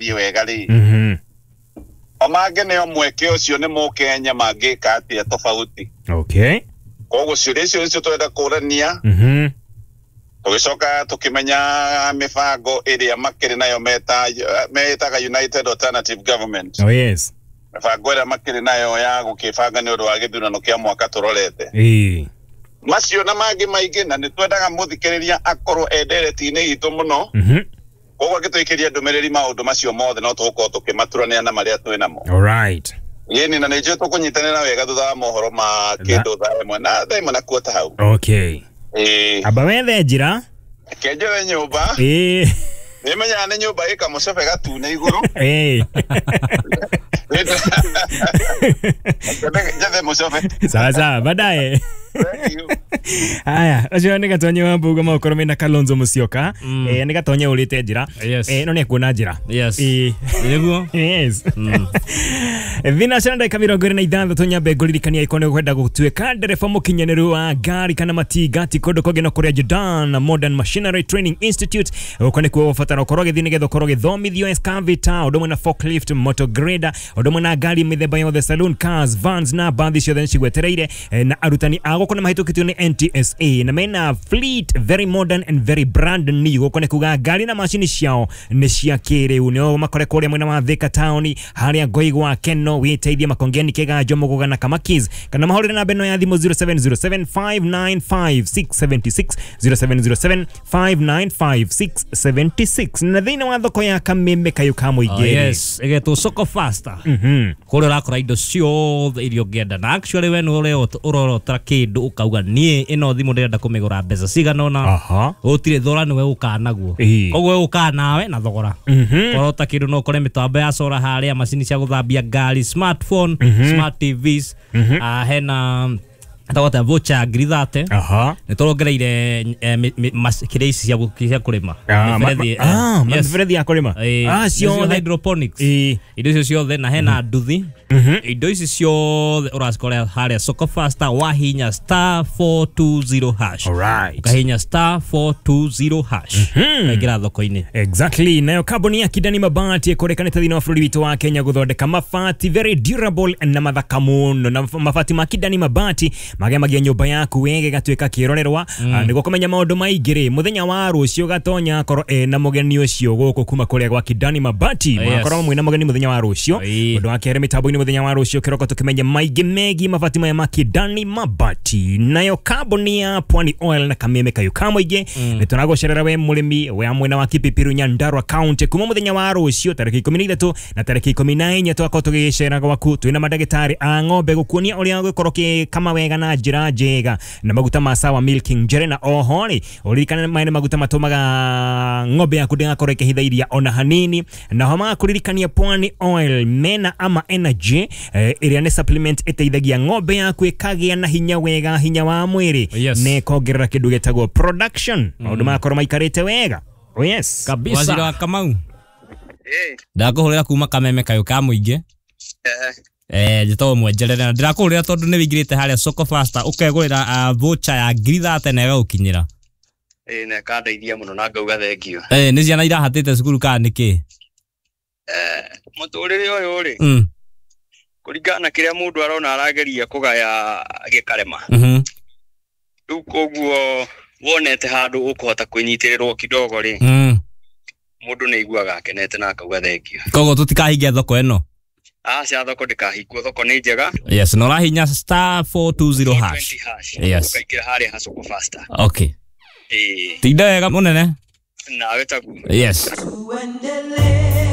Thiĩ wega rĩ, o mangĩneo mweke ũcio nĩ mũkenya mangĩka atĩa tofauti. Koguo ciũria icio nĩcio tũrenda kũrania. Tũgĩcoka tũkĩmenya mĩbango ĩrĩa makĩrĩ nayo metaga United Alternative Government. Oh yes. Mĩbango ĩrĩa makĩrĩ nayo ya gũkĩbanga nĩ ũndũ wa gĩthurano kĩa mwaka tũrorete. Macio na mangĩ maingĩ, na nĩ twendaga mũthikĩrĩria akorwo endereti-inĩ itũ mũno. Koguo angĩtũikĩria ndũmĩrĩri maũndũ macio mothe no tũgũkorwo tũkĩmaturania na marĩa twĩ namo. All right. Ĩni, na nĩ njũĩ tũkũnyitanĩra wega thutha wa mohoro ma kĩndũ 1:30 na 1:15 hau. Ĩĩ. Amba wethe njĩra. Kenjere nyũmba. Nĩmenyaga nĩ nyũmba ĩ kamũcebe gatune igũrũ. Njethe mũcebe. Sawa sawa, baadaye. Thank you. Haya, ũcio nĩ Gatonye wa Mbugua maũkorwo mena Kalonzo Musyoka. Nĩ Gatonye ũrĩte njĩra. No nĩ ekuona njĩra. Nĩguo. Yes. Thina cia ndagĩka 26 nyambe ngũririkania ĩkorwo nĩ ũkwenda gũtuĩka ndereba mũkinyanĩru wa ngari kana matinga, ti kũndũ kũngĩ no kũrĩa Jordan Modern Machinery Training Institute. Gũkũ nĩkuo ũbatara ũkorwo ũgĩthiĩ nĩgetha ũkorwo ũgĩthomithio excavator, ũndũ ũmwe na forklift, motor grader, ũndũ ũmwe na ngari mĩthemba yothe, saloon cars, vans na bathi ciothe nĩcigwetereire. Na arutani a gũkũ nĩ mahĩtũkĩtio nĩ NTSA na mena fleet very modern and very brand new. Gũkũ nĩ kuga ngari na macini ciao nĩ cia kĩrĩu. Nĩo makore kũrĩa mwena wa Thika town harĩa Ngoigwa Keno wĩteithie Makongeni Kĩganjo Mũgũga na Kamakis, kana mahũrĩre namba ĩno ya thimũ 0707 595 676, 0707 595 676. Na thĩinĩ wa thoko ya Kameme kayũ ka mũingĩ. Yes, ĩgetwo Soko Faster. Kũrĩa ũrakora indo ciothe iria ũngĩenda, na actually we nĩ ũrorotera kĩndũ ũkauga niĩ ĩno thimũ ndĩrenda kũmĩgũra mbeca cigana ũna. Gũtirĩ thogora, nĩwe ũkaga naguo. Koguo we ũkaga nawe na thogora. Korota kĩndũ no ũkore mĩtambo ya solar harĩa, macini cia gũthambia ngari, smartphone, smart TVs. Hena tagwata voucher ya 30,000. Nĩ tũrongereire kĩrĩa ici cia kũrĩma. Mĩberethi, yes. Mĩberethi ya kũrĩma. Nĩcio ciothe. Hydroponics. Indo icio ciothe na hena nduthi. Indo ici ciothe ũracikora harĩa Soko Faster, wahinya *420#. Ũkahinya *420# ũkaingĩra thoko-inĩ. Exactly. Nayo kambuni ya Kidani Mabati ĩkũrĩkanĩte thĩinĩ wa bũrũri witũ wa Kenya gũthondeka mabati very durable na mathaka mũno. Na mabati ma Kidani Mabati magemagia nyũmba yaku wega ĩgatuĩka kĩrorerwa. Nĩguo kũmenya maũndũ maingĩ rĩ, mũthenya wa rũciũ Gatonya akorwo ena mũgeni ũcio gũkũ kuma kũrĩa gwa Kidani Mabati. Magakorwo mwĩna mũgeni mũthenya wa rũciũ. Ũndũ wa kerĩ mĩtambo-inĩ mũthenya wa rũciũ kĩroko tũkĩmenye maingĩ megiĩ mabati maya ma Kidani Mabati. Nayo kambuni ya Pwani Oil na Kameme kayũ ka mũingĩ nĩ tũragũcerera we mũrĩmi wa mwena wa Kipipiru Nyandarua County kuma mũthenya wa rũciũ tarĩki 13 na tarĩki 14 tũgakorwo tũgĩgĩcera gwaku twĩna mandagĩtarĩ a ng'ombe gũkuonia ũrĩa ũgũkorwo ũgĩkama wega na njĩra njega na maguta ma Sawa Milking Njere. Na oho rĩ, ũririkane maya nĩ maguta matũmaga ng'ombe yaku ndĩgakorwo ĩkĩhitha iria ona hanini. Na ho magakũririkania Pwani Oil mena ama energy, ĩrĩa nĩ supplement ĩteithagia ng'ombe yaku ĩkagĩa na hinya wega, hinya wa mwĩrĩ. Na ĩkongerera kĩndũ gĩtagwo production. Maũndũ magakorwo maikarĩte wega. Oh yes. Kabisa. Waziri wa Kamau. Ndakũhũrĩra kuma Kameme kayũ ka mũingĩ. Njĩtagwo Mwenjerere na ndĩrakũhũrĩra tondũ nĩ wĩingĩrĩte harĩa Soko Faster ũkegũrĩra voucher ya 30,000 na ĩgagũkinyĩra. Ĩĩ, na ĩkandeithia mũno na ngauga thengiũ. Nĩ ciana irahatĩte cukuru kana nĩkĩ? Mũtũrĩre ũyũ rĩ, kũringana na kĩrĩa mũndũ arona arageria kũgaya gĩkarema. Rĩu koguo wonete handũ ũkũhota kwĩnyitĩrĩrwo kidogo rĩ, mũndũ nĩ aiguaga akenete na akauga thengiũ. Koguo tũtikahingia thoko ĩno? Aca, thoko ndĩkahingwo, thoko nĩ njega. Yes, na ũrahinya *420#. Hash. Yes. Ũkaingĩra harĩa ha Soko Faster. Ĩĩ. Tinda wega mũnene. Nawe taguo. Yes.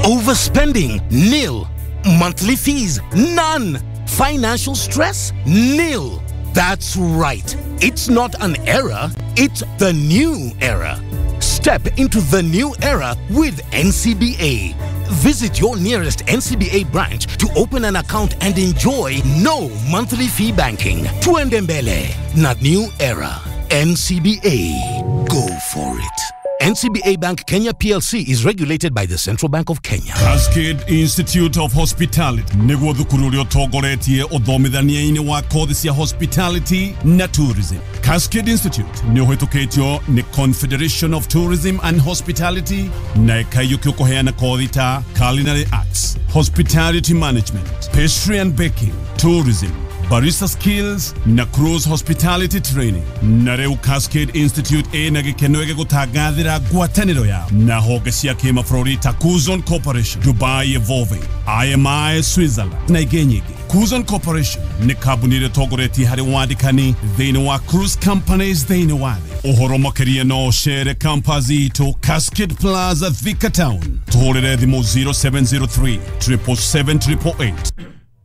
Overspending? Nil. Monthly fees? None. Financial stress? Nil. That's right. It's not an era, it's the new era. Step into the new era with NCBA. Visit your nearest NCBA branch to open an account and enjoy no monthly fee banking. Tuende mbele na new era. NCBA. Go for it. NCBA Bank Kenya PLC is regulated by the Central Bank of Kenya. Cascade Institute of Hospitality niguo thukuru uria utongoretie uthomithania-ini wa kothi cia hospitality na tourism. Cascade Institute ni uhitukitio ni Confederation of Tourism and Hospitality na ikaiyukio kuheana kothi ta culinary arts, hospitality management, pastry and baking, tourism, barista skills na cruise hospitality training. Na riu Cascade Institute ina gikeno gigutangathira ngwataniro yao na honge cia kimabũrũri ta Kuzon Corporation, Dubai Evolving, IMI Switzerland na ingĩ nyingĩ. Kuzon Corporation nĩ kambuni ĩrĩa ĩtongoretie harĩ wandĩkani thĩinĩ wa cruise companies thĩinĩ wa thĩ. Ũhoro makĩria no ũcere campus itũ Cascade Plaza, Thika Town. Tũhũrĩre thimũ 0703 777 888.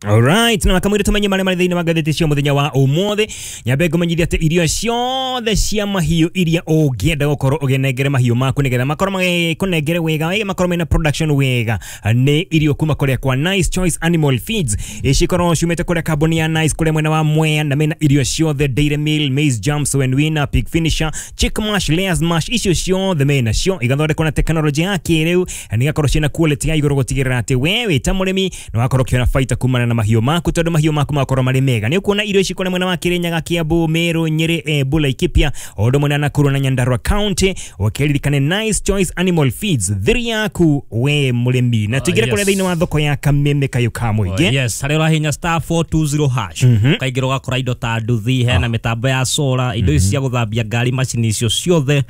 Alright, na makamwire tumenye maria mari thiini wa ngathĩti cia mũthenya wa ũmũthĩ. Nyambe ngũmenyithia atĩ irio ciothe cia mahiũ iria ũngĩenda gũkorwo ũgĩnengere mahiũ maku nĩgetha makorwo magĩkũnengere wega, wega makorwo mena production wega, nĩ irio kuma kũrĩa kwa Nice Choice Animal Feeds. Cikorwo ciumĩte kũrĩa kambuni ya Nice kũrĩa mwena wa Mwea, na mena irio ciothe Dairy Meal, Maize Jams, When Winner, Pig Finisher, Chick Mash, Layers Mash, icio ciothe mena cio igathondekwo na teknolojĩ ya kĩrĩu na igakorwo ciĩna quality ya igũrũ gũtigĩrĩra atĩ we wĩ ta mũrĩmi nĩ wakorwo ũkĩona baita kumana na mahiũ maku, tondu mahiũ maku makorwo marĩ mega. Nĩ ũkuona irio ici kũrĩa mwena wa Kirinyaga, Kiambu, Meru, Nyeri, Embu, Laikipia, o ũndũ ũmwe na Nakuru na Nyandarua County. Ũkĩririkane Nice Choice Animal Feeds, thiri yaku we mũrĩmi. Na tũingĩre kũrĩa thĩinĩ wa thoko ya Kameme kayũ ka mũingĩ. Yes, harĩa ũrahihinya star 420 hash ũkaingĩra ũgakora indo ta nduthi, hena mĩtambo ya solar, indo ici cia gũthambia ngari, macini icio ciothe,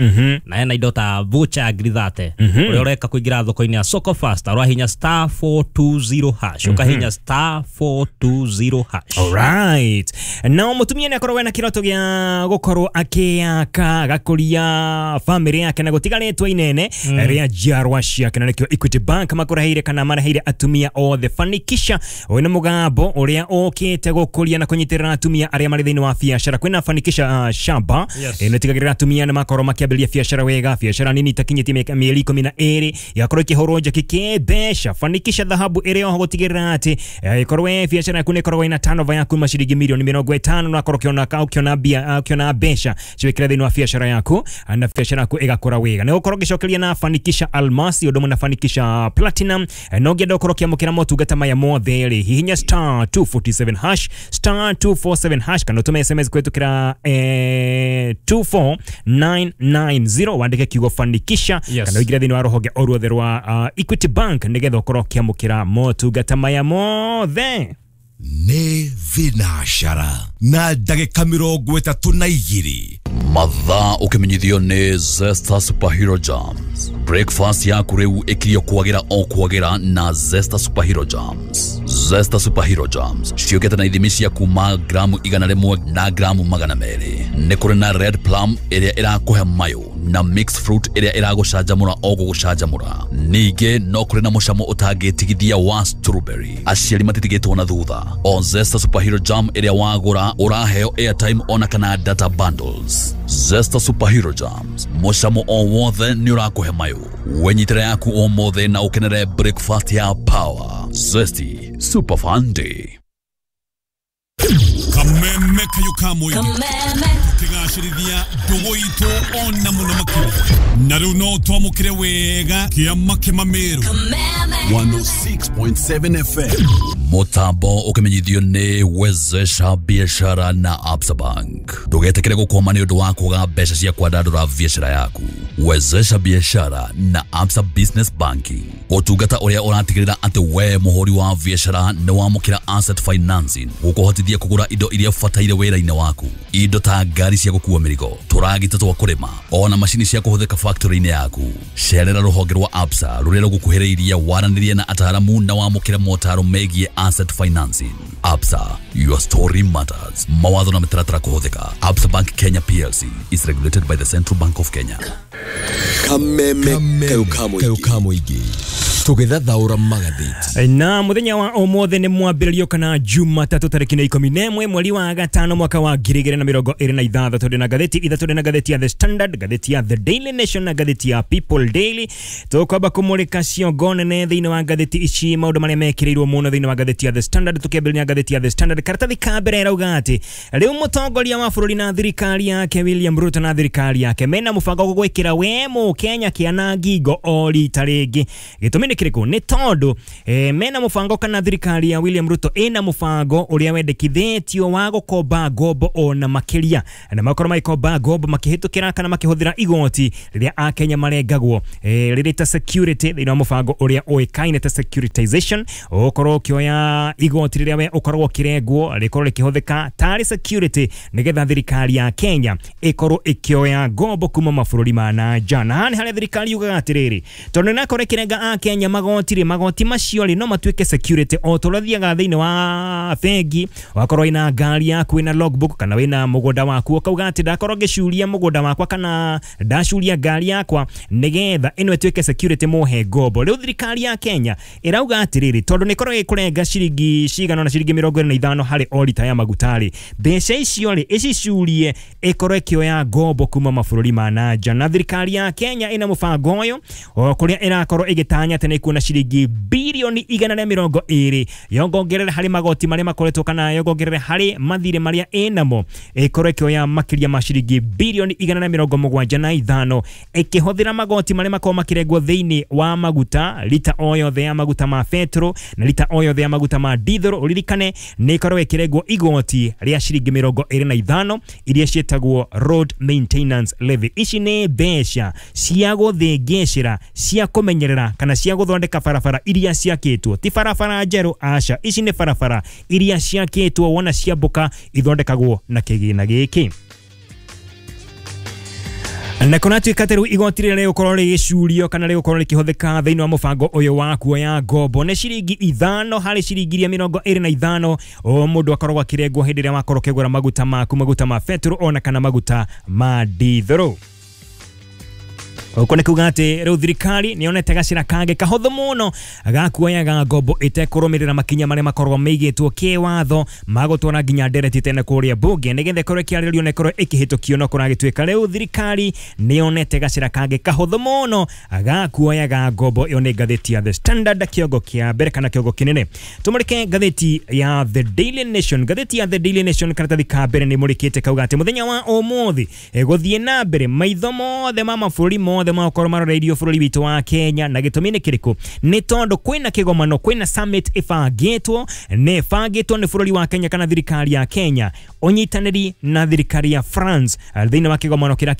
na hena indo ta voucher ya ngiri 30. Ũrĩa ũreka kũingĩra thoko-inĩ ya Soko Fast ũrahihinya star 420 hash, ũkahihinya star 420 hash. Alright. Na mutumia nĩ akoragwo na kĩroto gĩa gũkorwo akĩaka agakũria family yake na gũtiga rĩtwa inene rĩa njiarwa ciake, na nĩkĩo Equity Bank makũreheire kana mareheire atumia othe Fanikisha. Ũyũ nĩ mũgambo ũrĩa ũkĩte gũkũria na kũnyitĩrĩra atumia arĩa marĩ thĩinĩ wa biacara. Kwĩna Fanikisha shamba ĩno ĩtigagĩrĩra atumia nĩ makorwo makĩambĩrĩria biacara wega, biacara nini itakinyĩtie mĩeri 12 igakorwo ĩkĩhũrwo njeki kĩmbeca. Fanikisha dhahabu ĩrĩ oho gũtigĩrĩra atĩ ikorwo biacara yaku nĩ ĩkoragwo ĩna turnover yaku maciringi milioni 50 na akorwo ũkĩona mbia, ũkĩona mbeca ciwĩkĩra thĩinĩ wa biacara yaku na biacara yaku ĩgakũra wega. Nĩ ũgũkorwo ũgĩcokeria na Fanikisha Almasi ũndũ ũmwe na Fanikisha Platinum. No ũngĩenda ũkorwo ũkĩamũkĩra motungata maya mothe rĩ, hihinya star 247 hash, star 247 hash, kana ũtũme SMS kũhĩtũkĩra 24990 wandĩke kiugo Fanikisha, kana ũingĩre thĩinĩ wa rũhonge o ruothe rwa Equity Bank nĩgetha ũkorwo ũkĩamũkĩra motungata maya mothe. Nĩ thinashara na ndagĩka 32. Mathaa ũkĩmenyithio nĩ Zesta Superhero Jams. Breakfast yaku rĩu ĩkirio kwagĩra o kwagĩra na Zesta Superhero Jams. Zesta Superhero Jams ciũkĩte na ithimi cia kuma gramu 100 na gramu 200. Nĩ kũrĩ na red plum ĩrĩa ĩrakũhe mayũ na mixed fruit ĩrĩa ĩragũcanjamũra o gũgũcanjamũra. Ningĩ no kũrĩ na mũcamo ũtangĩtigithia wa strawberry. Aciari matitigĩtwo na thutha. O Zesta Superhero Jam ĩrĩa wagũra ũraheo airtime ona kana data bundles. Zesta Superhero Jams, mũcamo o wothe nĩ ũrakũhe mayũ. Wenyitĩre yaku ũmũthĩ na ũkenere breakfast ya power. Zesty Super Fun Day. Kameme kayũ ka mũingĩ tũkĩgacĩrithia ndũgũ itũ ona mũno makĩria. Na rĩu no twamũkĩre wega kĩama kĩmamĩrũ 106.7 FM. Mũtambo ũkĩmenyithio nĩ Wezesha Biashara na Absa Bank. Ndũgetĩkĩre gũkwama nĩ ũndũ wa kwaga mbeca cia kwandandũra biacara yaku. Wezesha Biashara na Absa Business Banking, ũtungata ũrĩa ũratigĩrĩra atĩ we mũhũri wa biacara nĩ wamũkĩra asset financing gũkũhotithia kũgũra indo iria ũbataire wĩra-inĩ waku, indo ta ngari cia gũkua mĩrigo, tũragita twa kũrĩma, ona macini cia kũhũthĩka factory-inĩ yaku. Cerera rũhonge rwa Absa rũrĩa rũgũkuhĩrĩirie, waranĩrie na ataaramu na wamũkĩre motaro megiĩ asset financing. Absa, your story matters. Mawatho na mĩtaratara kũhũthĩka. Absa Bank Kenya PLC is regulated by the Central Bank of Kenya. Kameme kayũ ka mũingĩ. Tũgĩthathaũra magathĩti. Na muthenya wa ũmũthĩ nĩ mwambĩrĩrio kana Jumatatũ tarĩki nĩ 11 mweri wa gatano mwaka wa 2026. Tũrĩ na ngathĩti ithatũ, tũrĩ na ngathĩti ya The Standard, ngathĩti ya The Daily Nation na ngathĩti ya People Daily. Tũkwamba kũmũrĩka ciongo nene thĩinĩ wa ngathĩti ici, maũndũ marĩa mekĩrĩirwo mũno thĩinĩ wa ngathĩti ya The Standard. Tũkĩambĩrĩria ngathĩti ya The Standard, karatathi ka mbere ĩrauga atĩ rĩu mũtongoria wa bũrũri na thirikari yake William Ruto na thirikari yake mena mũbango wa gwĩkĩra we Mũkenya kĩana ngingo o rita rĩngĩ. Gĩtũmi nĩ kĩrĩkũ? Nĩ tondũ mena mũbango kana thirikari ya William Ruto ĩna mũbango ũrĩa wendekithĩtio wa gũkomba ngombo ona makĩria, na makorwo magĩkomba ngombo makĩhĩtũkĩra kana makĩhũthĩra igoti rĩrĩa akenya marengagwo rĩrĩ ta security thĩinĩ wa mũbango ũrĩa ũĩkaine ta securitization. Ũkorwo ũkĩoya igoti rĩrĩa we ũkoragwo ũkĩrengwo rĩkorwo rĩkĩhũthĩka tarĩ security nĩgetha thirikari ya Kenya ĩkorwo ĩkĩoya ngombo kuma mabũrũri ma na nja. Na haha nĩ harĩa thirikari yugaga atĩrĩrĩ, tondũ nĩnakorwo ĩkĩrenga akenya magoti rĩ, magoti macio rĩ no matuĩke security o ta ũrĩa ũthiaga thĩinĩ wa bengi wakorwo wĩna ngari yaku wĩna logbook kana wĩna mũgũnda waku ũkauga atĩ ndakorwo ngĩcuria mũgũnda wakwa kana ndacuria ngari yakwa nĩgetha ĩno ĩtuĩke security mũhe ngombo. Rĩu thirikari ya Kenya ĩrauga atĩrĩrĩ, tondũ nĩkorwo ĩkũrenga ciringi cigana na ciringi 25 harĩ o rita ya maguta rĩ, mbeca icio rĩ ĩcicurie ĩkorwo ĩkĩoya ngombo kuma mabũrũri ma na nja. Na thirikari ya Kenya ĩna mũbango ũyũ o kũrĩa ĩrakorwo ĩgĩtanya atĩ nĩkuona ciringi bilioni 120 yongongerere harĩ magoti marĩa makoretwo kana yongongerere harĩ mathirĩ marĩa ĩnamo ĩkorwo ĩkĩoya makĩria ma ciringi bilioni 175 ĩkĩhũthĩra magoti marĩa makorwo makĩrengwo thĩinĩ wa maguta, lita o yothe ya maguta ma petro na lita o yothe ya maguta ma diesel. Ũririkane nĩ ĩkorwo ĩkĩrengwo igoti rĩa ciringi 25 iria ciĩtagwo road maintenance levy. Ici nĩ mbeca cia gũthĩngĩcĩra, cia kũmenyerera kana cia gũthondeka barabara iria ciakĩtwo, ti barabara njerũ, aca, ici nĩ barabara iria ciakĩtwo wona ciambũka ithondekagwo na kĩgĩna gĩkĩ. Na kũratuĩka atĩ rĩu igoti rĩrĩa rĩgũkorwo rĩgĩcurio kana rĩgũkorwo rĩkĩhũthĩka thĩinĩ wa mũbango ũyũ wa kuoya ngombo nĩ ciringi 5 harĩ ciringi iria 25 o mũndũ akoragwo akĩrengwo hĩndĩ ĩrĩa wakorwo ũkĩgũra maguta maku, maguta ma petro ona kana maguta ma diesel. Ũguo nĩ kuga atĩ rĩu thirikari nĩ yonete gacĩra kangĩ kahũthũ mũno ga kuoyaga ngombo ĩtekũrũmĩrĩra makinya marĩa makoragwo maigĩtwo kĩwatho magũtwara nginya ndereti tene kũrĩa mbunge nĩgetha ĩkorwo ĩkĩarĩrĩrio na ĩkorwo ĩkĩhĩtũkio. No kũragĩtuĩka rĩu thirikari nĩ yonete gacĩra kangĩ kahũthũ mũno ga kuoyaga ngombo. Ĩyo nĩ ngathĩti ya The Standard, kĩongo kĩa mbere kana kĩongo kĩnene. Tũmũrĩke ngathĩti ya The Daily Nation. Ngathĩti ya The Daily Nation karatathi ka mbere nĩ mũrĩkĩte kauga atĩ mũthenya wa ũmũthĩ gũthiĩ na mbere maitho mothe ma mabũrũri mothe makorwo maroreirio bũrũri witũ wa Kenya. Na gĩtũmi nĩ kĩrĩkũ? Nĩ tondũ kwĩna kĩgomano, kwĩna summit ĩbangĩtwo, nĩ ĩbangĩtwo nĩ bũrũri wa Kenya kana thirikari ya Kenya ũnyitanĩri na thirikari ya France thĩinĩ wa kĩgomano kĩrĩa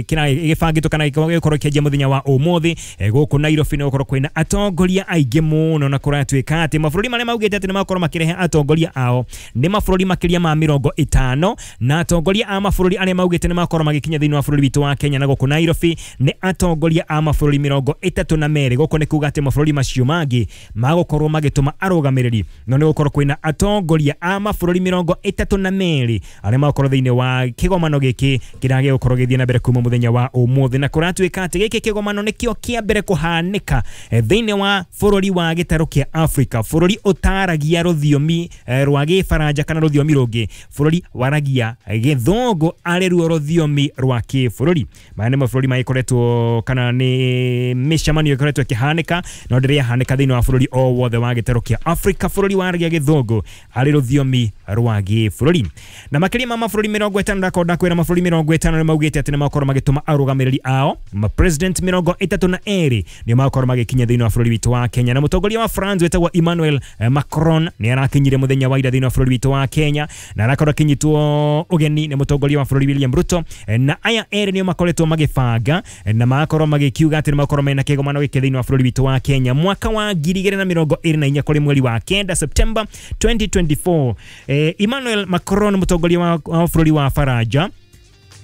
gĩbangĩtwo kana gĩgũkorwo kĩanjia mũthenya wa ũmũthĩ gũkũ Nairobi. Nĩ gũkorwo kwĩna atongoria aingĩ mũno na kũratuĩka atĩ mabũrũri marĩa maugĩte atĩ nĩ makorwo makĩrehe atongoria ao nĩ mabũrũri makĩria ma 50, na atongoria a mabũrũri arĩa maugĩte nĩ makorwo magĩkinya thĩinĩ wa bũrũri witũ wa Kenya na gũkũ Nairobi nĩ atongoria a mabũrũri 32. Gũkũ nĩ kuga atĩ mabũrũri macio mangĩ magũkorwo magĩtũma arũgamĩrĩri, no nĩ gũkorwo kwĩna atongoria a mabũrũri 32 arĩa magũkorwo thĩinĩ wa kĩgomano gĩkĩ kĩrĩa gĩgũkorwo gĩthiĩ na mbere kuma mũthenya wa ũmũthĩ. Na kũratuĩka atĩ gĩkĩ kĩgomano nĩkĩo kĩa mbere kũhanĩka thĩinĩ wa bũrũri wa gĩtarũ kĩa Afrika, bũrũri ũtaragia rũthiomi rwa gĩbaranja kana rũthiomi rũngĩ, bũrũri waragia gĩthũngũ arĩ ruo rũthiomi rwa kĩbũrũri. Maya nĩ mabũrũri magĩkoretwo kana nĩ mĩcemanio ĩkoretwo ĩkĩhanĩka no ndĩrĩ yahanĩka thĩinĩ wa bũrũri o wothe wa gĩtarũ kĩa Afrika, bũrũri waragia gĩthũngũ arĩ rũthiomi rwa gĩbũrũri. Na makĩria ma mabũrũri 50, ndakorwo ndakwĩra mabũrũri 50 nĩ maugĩte atĩ nĩ makorwo magĩtũma arũgamĩrĩri ao ma president 32 nĩ makorwo magĩkinya thĩinĩ wa bũrũri witũ wa Kenya. Na mũtongoria wa France wĩtagwo Emmanuel Macron nĩ arakinyire mũthenya wa ira thĩinĩ wa bũrũri witũ wa Kenya na arakorwo akinyitwo ũgeni nĩ mũtongoria wa bũrũri William Ruto. Na aya erĩ nĩo makoretwo magĩbanga na magakorwo magĩkiuga atĩ nĩ makorwo mena kĩgomano gĩkĩ thĩinĩ wa bũrũri witũ wa Kenya mwaka wa 2024 kũrĩ mweri wa 9 September 2024. Emmanuel Macron mũtongoria wa bũrũri wa Faranja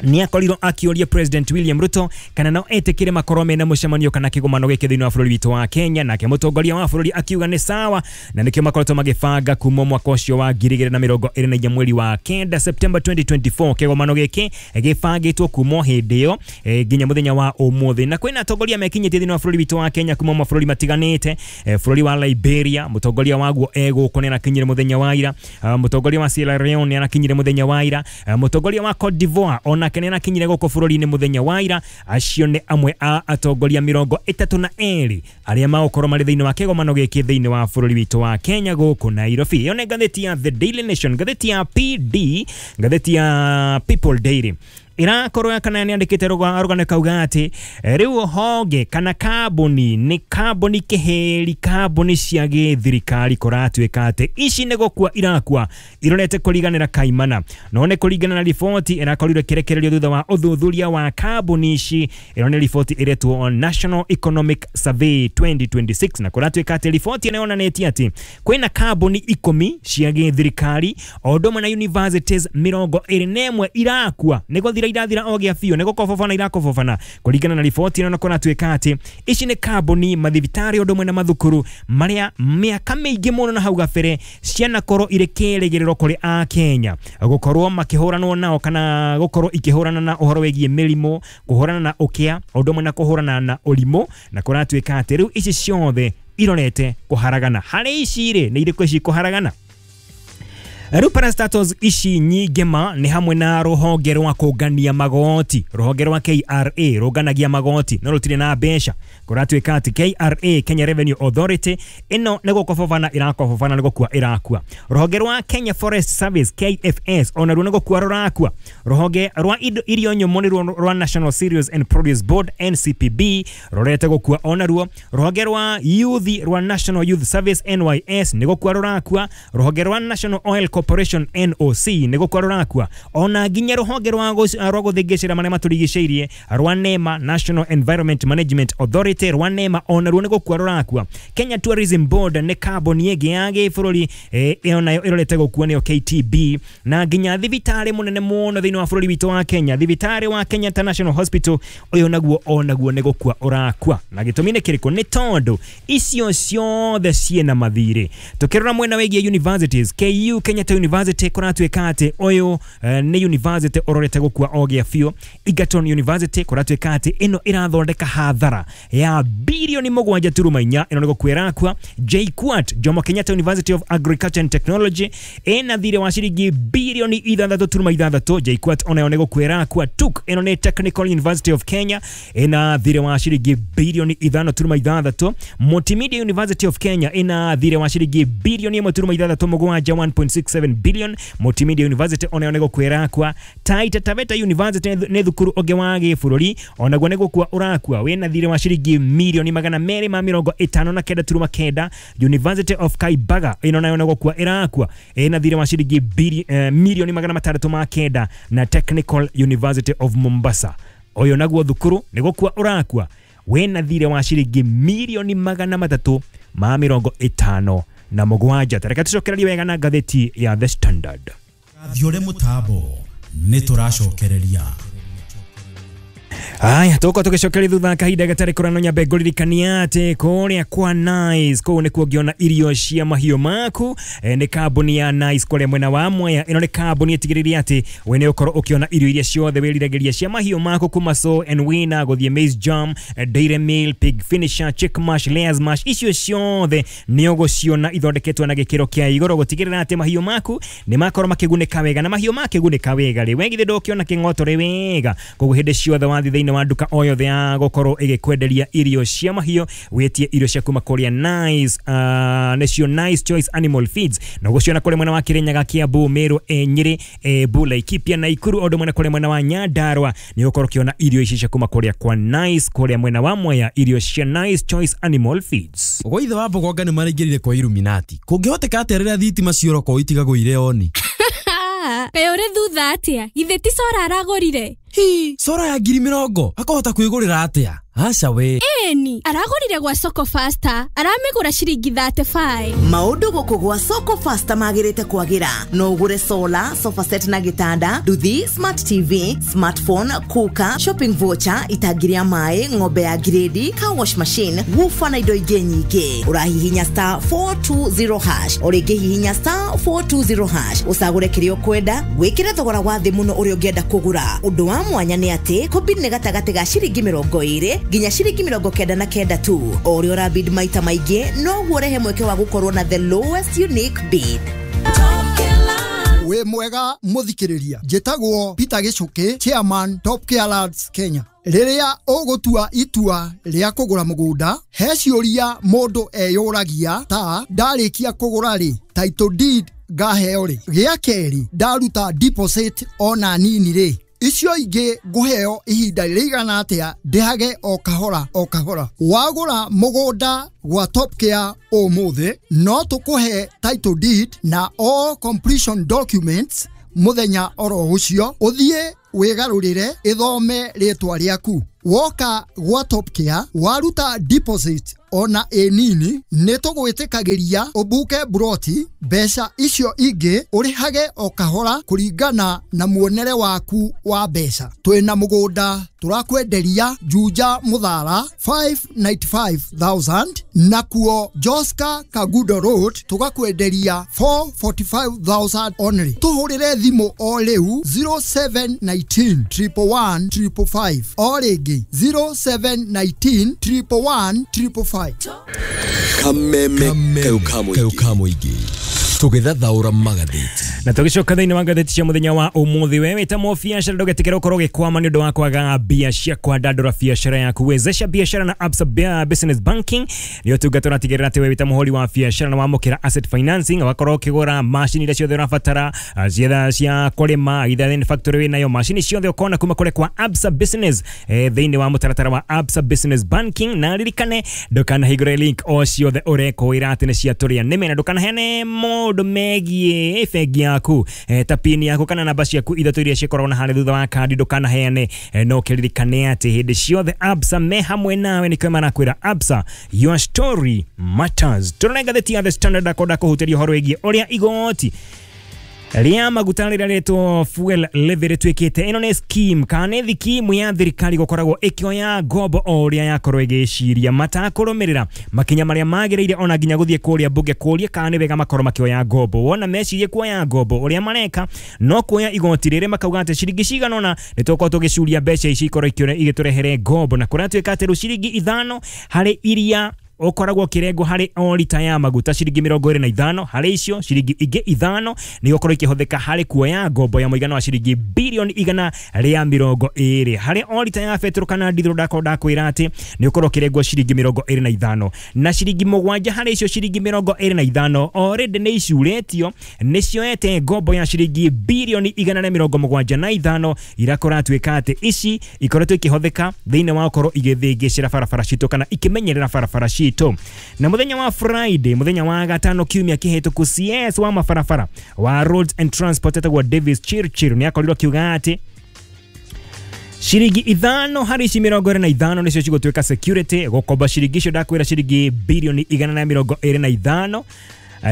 Nĩ akorirwo akĩũria President William Ruto kana no etĩkĩre makorwo mena mũcemanio kana kĩgomano gĩkĩ thĩinĩ wa bũrũri witũ wa Kenya, nake mũtongoria wa bũrũri akiuga nĩ sawa, na nĩkĩo makoretwo magĩbanga kuma mwaka ũcio wa 2024 mweri wa 9 September 2024. Kĩgomano gĩkĩ gĩbangĩtwo kuma hĩndĩ ĩyo nginya mũthenya wa ũmũthĩ, na kwĩna atongoria mekinyĩtie thĩinĩ wa bũrũri witũ wa Kenya kuma mabũrũri matiganĩte. Bũrũri wa Liberia mũtongoria waguo egũkũ nĩ arakinyire mũthenya wa ira, mũtongoria wa Sierra Leone nĩ arakinyire mũthenya wa ira, mũtongoria wa Cote d'Ivoire ona nake nĩ arakinyire gũkũ bũrũri-inĩ mũthenya wa ira. Acio nĩ amwe a atongoria 32 arĩa magũkorwo marĩ thĩinĩ wa kĩgomano gĩkĩ thĩinĩ wa bũrũri witũ wa Kenya gũkũ Nairobi. Ĩyo nĩ ngathĩti ya The Daily Nation, ngathĩti ya PD, ngathĩti ya People Daily irakorwo kana nĩ andĩkĩte rũgano kauga atĩ rĩu honge kana kambuni nĩ kambuni kĩhĩri, kambuni cia gĩthirikari kũratuĩka atĩ ici nĩ gũkua irakua irorete kũriganĩra kaimana. No nĩ kũringana na riboti ĩrakorirwo ĩkĩrekererio thutha wa ũthuthuria wa kambuni ici. Ĩno nĩ riboti ĩretwo National Economic Survey 2026, na kũratuĩka atĩ riboti ĩno yonanĩtie atĩ kwĩna kambuni 10 cia gĩthirikari o ũndũ ũmwe na universities 21 irakua nĩ gũthira irathira o gĩa biũ, nĩ gũkobobana irakobobana. Kũringana na riboti ĩno na kũratuĩka atĩ ici nĩ kambuni, mathibitarĩ ũndũ ũmwe na mathukuru marĩa mĩaka mĩingĩ mũno na hau gabere cianakorwo irĩ kĩrĩgĩrĩro kũrĩ a Kenya gũkorwo makĩhũranwo nao kana gũkorwo ikĩhũrana na ũhoro wĩgiĩ mĩrimũ, kũhũrana na ũkĩa ũndũ ũmwe na kũhũrana na ũrimũ, na kũratuĩka atĩ rĩu ici ciothe irorete kũharagana. Harĩ ici rĩ, nĩ irĩkũ ici kũharagana? Rĩu parastatals ici nyingĩ ma nĩ hamwe na rũhonge rwa kũngania magoti, rũhonge rwa KRA rũnganagia magoti no rũtirĩ na mbeca. Kũratuĩka atĩ KRA, Kenya Revenue Authority, ĩno nĩ gũkobobana irakobobana, nĩ gũkua ĩrakua. Rũhonge rwa Kenya Forest Service KFS onaruo nĩ gũkua rũrakua. Rũhonge rwa irio nyũmũ nĩruo rwa National Cereals and Produce Board NCPB rũrete gũkua onaruo. Rũhonge rwa Youth rwa National Youth Service NYS nĩ gũkua rũrakua. Rũhonge rwa National Oil Corporation NOC nĩ gũkua rũrakua. Ona nginya rũhonge rwa gũthingĩcĩra marĩa matũrigicĩirie rwa NEMA, National Environment Management Authority rwa NEMA onaruo nĩ gũkua rũrakua. Kenya Tourism Board nĩ kambuni ĩngĩ ya gĩbũrũri ĩyo nayo ĩrorete gũkua nĩyo KTB. Na nginya thibitarĩ mũnene mũno thĩinĩ wa bũrũri witũ wa Kenya, thibitarĩ wa Kenyatta National Hospital, ũyũ naguo onaguo nĩ gũkua ũrakua. Na gĩtũmi nĩ kĩrĩkũ? Nĩ tondũ icio ciothe ciĩna mathirĩ. Tũkĩrora mwena wĩgiĩ universities, KU Kenyatta University kũratuĩka atĩ ũyũ nĩ university ũrorete gũkua o gĩa biũ. Egerton University kũratuĩka atĩ ĩno ĩrathondeka hathara ya bilioni 7.4, ĩno nĩ gũkua ĩrakua. JKUAT, Jomo Kenyatta University of Agriculture and Technology, ĩna thirĩ wa ciringi bilioni 6.6, JKUAT onayo nĩ gũkua ĩrakua. TUK, ĩno nĩ Technical University of Kenya, ĩna thirĩ wa ciringi bilioni 5.6. Multimedia University of Kenya ĩna thirĩ wa ciringi bilioni 1.67, 1.67 billion. Multimedia University onayo nĩ gũkua ĩrakua. Taita Taveta University nĩ thukuru ũngĩ wa gĩbũrũri onaguo nĩ gũkua ũrakua, wĩna thirĩ wa ciringi milioni 259.9. University of Kaibaga ĩno nayo nĩ gũkua ĩrakua, ĩna thirĩ wa ciringi milioni 609. Na Technical University of Mombasa ũyũ naguo thukuru nĩ gũkua ũrakua, wĩna thirĩ wa ciringi milioni 357. Tareka tũcokererie wega na ngathĩti ya The Standard. Thiore mũtambo nĩ tũracokereria. Aya, tũgũkorwo tũgĩcokeria thutha kahinda gatarĩ kũrano. Nyambe ngũririkania atĩ kũrĩa kwa Nice kũu nĩkuo ũngĩona irio cia mahiũ maku. Nĩ kambuni ya Nice kũrĩa mwena wa Mwea. Ĩno nĩ kambuni ĩtigĩrĩire atĩ we nĩ ũkorwo ũkĩona irio iria ciothe wĩriragĩria cia mahiũ maku kuma Sow and Winner gũthiĩ maize jam, dairy meal, pig finisher, chick mash, layers mash, icio ciothe nĩ ũgũciona ithondeketwo na gĩkĩro kĩa igũrũ gũtigĩrĩra atĩ mahiũ maku nĩ makorwo makĩgunĩka wega. Na mahiũ makĩgunĩka wega rĩ, we githĩ ndũkĩona kĩng'otore wega. Koguo hĩndĩ ciothe wathiĩ thĩinĩ wa nduka o yothe ya gũkorwo ĩgĩkwenderia irio cia mahiũ, wĩtie irio cia kuma kũrĩa Nice, nĩcio Nice Choice Animal Feeds, na ũgũciona kũrĩa mwena wa Kirinyaga, Kiambu, Meru, Nyĩrĩ, Embu, Laikipia, Nakuru, o ũndũ ũmwe na kũrĩa mwena wa Nyandarua nĩ ũgũkorwo ũkĩona irio ici cia kuma kũrĩa kwa Nice, kũrĩa mwena wa Mwea, irio cia Nice Choice Animal Feeds. Gwa ithe wa Mbogonga nĩ maraingĩrire kwa Illuminati. Kũngĩhoteka atĩa rĩrĩa thitima ciora itigagwo irĩ oni? Kaĩ ũrĩ thutha atĩa? Githĩ ti cora aragũrire? Hi, cora ya 20,000 akũhota kwĩgũrĩra atĩa? Aca we. Eni aragũrire gwa Soko Faster, aramĩgũra ciringi 35. Maũndũ gũkũ gwa Soko Faster magĩrĩte kwagĩra. No ũgũre solar, sofa set na gĩtanda, nduthi, smart TV, smartphone, cooker, shopping voucher, itangi rĩa maĩ, ng'ombe ya grade, car wash machine, woofer na indo ingĩ nyingĩ. Ũrahihinya star 420 hash, o rĩngĩ hihinya star 420 hash, ũcagũre kĩrĩa ũkwenda, wĩkĩre thogora wa thĩ mũno ũrĩa ũngĩenda kũgũra. Ũndũ wa mwanya nĩ atĩ kũbid nĩ gatagatĩ ga ciringi 20 nginya ciringi 99 tu. O ũrĩa ũrabid maita maingĩ noguo ũrehe mweke wa gũkorwo na the lowest unique bid. Wĩ mwega mũthikĩrĩria, njĩtagwo Peter Gĩcũkĩ, chairman Top Care Lands Kenya. Rĩrĩa ũgũtua itua rĩa kũgũra mũgũnda, he ciũria mũndũ eyũragia ta ndarĩkia kũgũra rĩ, title deed ngaheo rĩ, gĩa kerĩ ndaruta deposit ona nini rĩ, icio ingĩ ngũheo ihinda rĩigana atĩa ndĩhage o kahora o kahora. Wagũra mũgũnda gwa Top Care ũmũthĩ, no tũkũhe title deed na all completion documents mũthenya oro ũcio, ũthiĩ wĩgarũrĩre ĩthome rĩtwa rĩaku. Woka gwa Top Care waruta deposit ona ĩ nini, nĩ tũgwĩtĩkagĩria ũbuke broti, mbeca icio ingĩ ũrĩhage o kahora kũringana na muonere waku wa mbeca. Twĩna mũgũnda tũrakwenderia Juja Mũthara 595,000, nakuo Joska Kagudo Road tũgakwenderia 445,000 only. Tũhũrĩre thimũ o rĩu 0719 111 555, o rĩngĩ 0719 111 555. Kameme kau kamuigi tũgĩthathaũra magathĩti na tũgĩcoka thĩinĩ wa ngathĩti cia mũthenya wa ũmũthĩ. We wĩta mũbiacara ndũgetikĩre ũkorwo ũgĩkwama nĩ ũndũ wa kwaga mbia cia kwandandũra biacara yaku. Wezesha biacara na Absa Business Banking nĩ ũtungata ũratigĩrĩra atĩ we wĩta mũhũri wa biacara na wamũkĩra asset financing, ũgakorwo ũkĩgũra macini iria ciothe ũrabatara cietha cia kũrĩma, either nĩ factory wĩnayo, macini ciothe ũkona kuma kũrĩ kwa Absa Business thĩinĩ wa mũtaratara wa Absa Business Banking. Na ririkane ndũkanahingũre link o ciothe ũrekwĩra atĩ nĩ cia tũrĩa nĩme, na ndũkanaheane maũndũ megiĩ bengi yaku ta pin yaku kana namba ciaku ithatũ iria cikoragwo na harĩa thutha wa kandi, ndũkanaheane. No kĩririkane atĩ hĩndĩ ciothe Absa me hamwe nawe, nĩkĩo marakwĩra Absa, your story matters. Tũrona ngathĩti ya The Standard akonda kũhutĩria ũhoro wĩgiĩ ũrĩa igoti rĩa maguta rĩrĩa rĩtwo fuel levy rĩtuĩkĩte. Ĩno nĩ scheme kana nĩ thikimu ya thirikari gũkoragwo ĩkĩoya ngombo o ũrĩa yakorwo ĩgĩciria, matakũrũmĩrĩra makinya marĩa magĩrĩire, ona nginya gũthiĩ kũrĩa mbunge kũria kana nĩ wega makorwo makĩoya ngombo. Wona mecirie kuoya ngombo, ũrĩa mareka no kuoya igoti rĩrĩ makauga atĩ ciringi cigana ũna nĩ tũgũkorwo tũgĩcuria mbeca ici ikorwo igĩtũrehere ngombo, na kũratuĩka atĩ rĩu ciringi 5 harĩ iria ũkoragwo ũkĩrengwo harĩ o rita ya maguta ciringi 25, harĩ icio ciringi ingĩ 5 nĩ gũkorwo ikĩhũthĩka harĩ kuoya ngombo ya mũigana wa ciringi bilioni 120 harĩ o rita ya betũrũ kana ndithũrũ. Ndakorwo ndakwĩra atĩ nĩ ũkorwo ũkĩrengwo ciringi 25 na ciringi 7 harĩ icio ciringi 25 already nĩ icurĩtio, nĩ cioete ngombo ya ciringi bilioni 175 irakora tuĩka atĩ ici ikoretwo ikĩhũthĩka thĩinĩ wa gũkorwo igĩthĩngĩcĩra barabara citũ kana ikĩmenyerera barabara citũ. Na muthenya wa Friday, muthenya wa gatano kiumia kĩhĩtũku, CS wa mabarabara wa Roads and Transport etagwo Davis Chirchir nĩ akorirwo akiuga atĩ ciringi 5 harĩ ici 25 nĩcio cigũtuĩka security gũkomba ciringi icio ndakwĩra ciringi bilioni 125,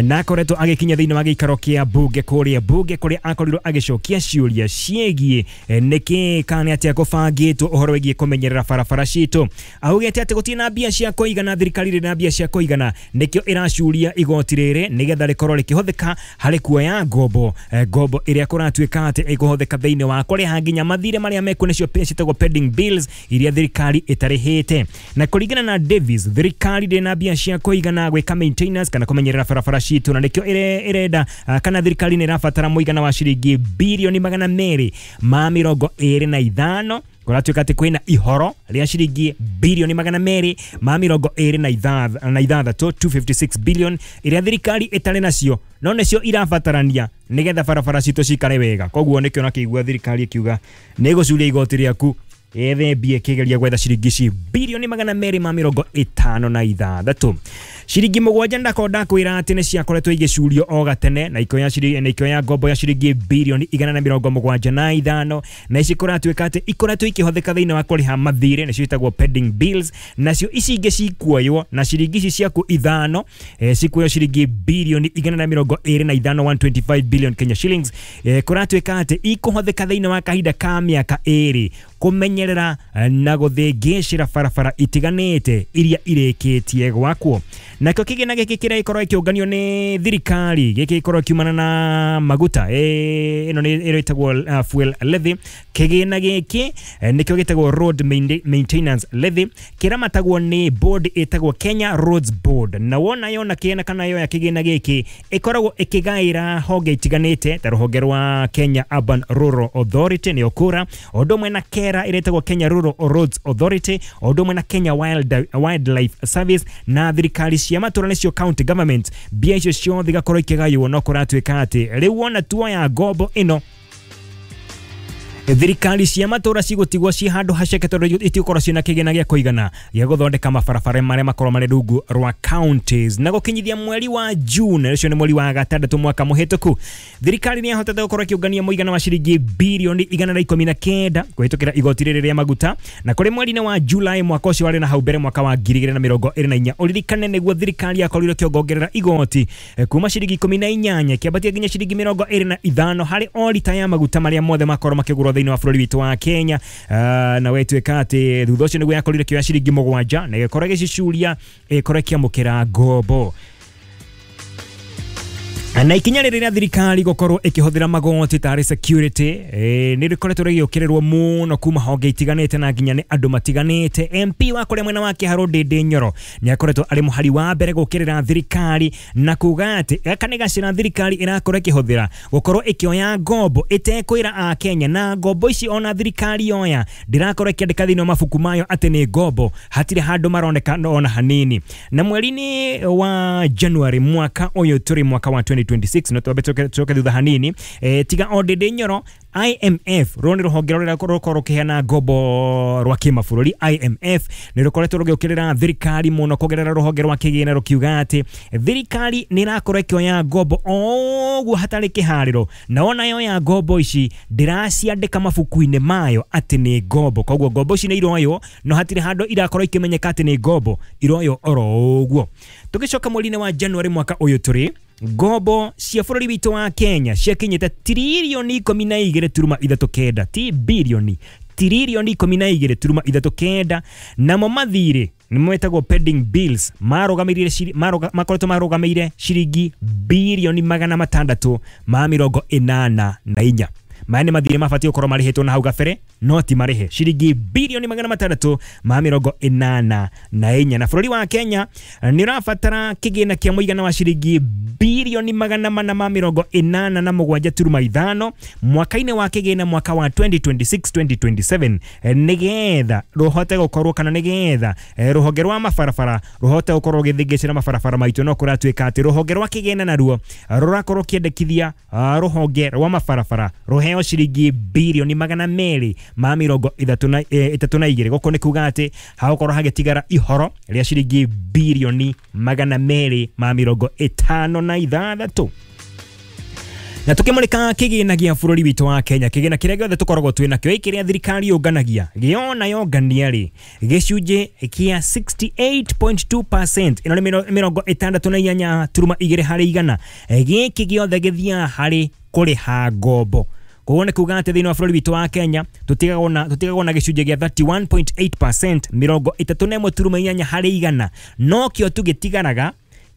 na akoretwo agĩkinya thĩinĩ wa gĩikaro kĩa mbunge kũrĩa mbunge kũrĩa akorirwo agĩcokia ciũria ciĩgiĩ nĩkĩ kana nĩ atĩa kũbangĩtwo ũhoro wĩgiĩ kũmenyerera barabara citũ. Augĩte atĩ gũtirĩ na mbia cia kũigana, thirikari ndĩrĩ na mbia cia kũigana, nĩkĩo ĩracuria igoti rĩrĩ nĩgetha rĩkorwo rĩkĩhũthĩka harĩ kuoya ngombo, ngombo ĩrĩa kũratuĩka atĩ ĩkũhũthĩka thĩinĩ wa kũrĩha nginya mathirĩ marĩa mekuo nĩcio ciĩtagwo pending bills iria thirikari ĩtarĩhĩte. Na kũringana na Davis, thirikari ndĩrĩ na mbia cia kũigana gwĩka maintenance kana kũmenyerera barabara citũ, na nĩkĩo ĩrenda kana thirikari nĩ ĩrabatara mũigana wa ciringi bilioni 225. Kũratuĩka atĩ kwĩna ihoro rĩa ciringi bilioni 226, 256 billion iria thirikari ĩtarĩ nacio no nĩcio irabatarania nĩgetha barabara citũ cikare wega. Koguo nĩkĩo nakĩigua thirikari ĩkiuga nĩ ĩgũcuria igoti rĩaku Yethe mbia ĩkĩgeria gwetha ciringi ici birioni 256. Ciringi 7 ndakorwo ndakwĩra atĩ nĩ ciakoretwo igĩcurio o gatene na ikoya ciringi na ikoya ngombo ya ciringi birioni 175, na ici kũratuĩka atĩ ikoretwo ikĩhũthĩka thĩinĩ wa kũrĩha mathirĩ, nĩcio ciĩtagwo pending bills, nacio ici ingĩ cikuoywo na ciringi ici ciaku 5 cikuoywo ciringi birioni 125, 125 billion Kenya shillings. Kũratuĩka atĩ ikũhũthĩka thĩinĩ wa kahinda ka mĩaka 2 kũmenyerera na gũthĩngĩcĩra barabara itiganĩte iria irĩkĩtie gwakwo. Nakĩo kĩgĩna gĩkĩ kĩrĩa gĩkorwo gĩkĩũnganio nĩ thirikari gĩkĩ gĩkorwo kiumana na maguta, ĩno nĩ ĩrĩtagwo fuel levy. Kĩgĩna gĩkĩ nĩkĩo gĩtagwo road maintenance levy, kĩramatagwo nĩ board ĩtagwo Kenya Roads Board, na wona yona kĩgĩna kana yoya kĩgĩna gĩkĩ ĩkoragwo ĩkĩgaĩra honge itiganĩte ta rũhonge rwa Kenya Urban Rural Authority nĩyo KURA, ũndũ ũmwe na KERA ĩrĩtagwo Kenya Rural Roads Authority, ũndũ ũmwe na Kenya Wildlife Service na thirikari cia matũra nĩcio county government. Mbia icio ciothe igakorwo ikĩgaywo, no kũratuĩka atĩ rĩu wona tuoya ngombo ĩno thirikari cia matũra cigũtigwo ci handũ haceke tondũ itigũkorwo ciĩna kĩgĩna gĩa kũigana gĩa gũthondeka mabarabara marĩa makorwo marĩ rungu rwa counties. Na gũkinyithia mweri wa June, ũcio nĩ mweri wa gatandatũ mwaka mũhĩtũku, thirikari nĩ yahotete gũkorwo ĩkĩũngania mũigana wa ciringi birioni 119 kũhĩtũkĩra igoti rĩrĩ rĩa maguta, na kũrĩ mweri-inĩ wa July mwaka ũcio warĩ na hau mbere mwaka wa 2024, ũririkane nĩguo thirikari yakorirwo ĩkĩongongerera igoti kuma ciringi 18 kĩambatia nginya ciringi 25 harĩ o rita ya maguta marĩa mothe makorwo makĩgũrwo thĩinĩ wa bũrũri witũ wa Kenya. Na wetuĩka atĩ thutha ũcio nĩguo yakorire kĩoya ciringi 7 na ĩgĩkorwo ĩgĩcicuria ĩkorwo ĩkĩamũkĩra ngombo. Na ikinya rĩrĩ rĩa thirikari gũkorwo ĩkĩhũthĩra magoti tarĩ security nĩ rĩkoretwo rĩgĩũkĩrĩrwo mũno kuma honge itiganĩte na nginya nĩ andũ matiganĩte. MP wa kũrĩa mwena wa Kĩharũ Ndĩndĩ Nyoro nĩ akoretwo arĩ mũhari wa mbere gũkĩrĩra thirikari na kuga atĩ gaka nĩ gacĩra thirikari ĩrakorwo ĩkĩhũthĩra gũkorwo ĩkĩoya ngombo ĩtekwĩra Akenya, na ngombo ici ona thirikari yoya ndĩrakorwo ĩkĩandĩka thĩinĩ wa mabuku mayo atĩ nĩ ngombo, hatirĩ handũ maroneka ona hanini. Na mweri-inĩ wa January mwaka ũyũ tũrĩ mwaka wa 2026, no twambe tucoke thutha hanini, tiga o Ndĩndĩ Nyoro, IMF rũrũ nĩ rũhonge rũrĩa rũkorwo rũkĩheana ngombo rwa kĩmabũrũri. IMF nĩ rũkoretwo rũgĩũkĩrĩra thirikari mũno kũgerera rũhonge rwa kĩgĩna rũkiuga atĩ thirikari nĩ ĩrakorwo ĩkĩoya ngombo o ũguo hatarĩ kĩharĩro, na ona yoya ngombo ici ndĩraciandĩka mabuku-inĩ mayo atĩ nĩ ngombo. Koguo ngombo ici nĩ iroywo no hatirĩ handũ irakorwo ikĩmenyeka atĩ nĩ ngombo, iroywo oro ũguo. Tũgĩcoka mweri-inĩ wa January mwaka ũyũ tũrĩ, ngombo cia bũrũri witũ wa Kenya ciakinyĩte tiririoni 12.39, ti birioni, tiririoni 12.39, namo mathirĩ nĩmo metagwo pending bills marũgamĩrĩire makoretwo marũgamĩire ciringi birioni 684. Maya nĩ mathirĩ mabatiĩ gũkorwo marĩhĩtwo na hau gabere no ti marĩhe, ciringi birioni 684. Na bũrũri wa Kenya nĩ ũrabatara kĩgĩna kĩa mũigana wa ciringi birioni 487.5 mwaka-inĩ wa kĩgĩna mwaka wa 2026-2027 nĩgetha rũhote gũkorwo kana nĩgetha rũhonge rwa mabarabara rũhote gũkorwo rũgĩthĩngĩcĩra mabarabara maitũ. No kũratuĩka atĩ rũhonge rwa kĩgĩna naruo rũrakorwo kĩendekithia rũhonge rwa mabarabara rũheo ciringi birioni 232. Gũkũ nĩ kuga atĩ hagũkorwo hagĩtigara ihoro rĩa ciringi birioni 256. Na tukimulika kĩgĩna gĩa bũrũri witũ wa Kenya, kĩgĩna kĩrĩa gĩothe tũkoragwo twĩ nakĩo kĩrĩa thirikari yũnganagia gĩona yongania rĩ gĩcunjĩ kĩa 68.2%, ĩno nĩ 68.2 harĩ igana, gĩkĩ gĩothe gĩthiaga harĩ kũrĩha ngombo. Koguo nĩ kuga atĩ thĩinĩ wa bũrũri witũ wa Kenya tũtigagwo na gĩcunjĩ gĩa 31.8%, 31.8 harĩ igana, no kĩo tũgĩtigaraga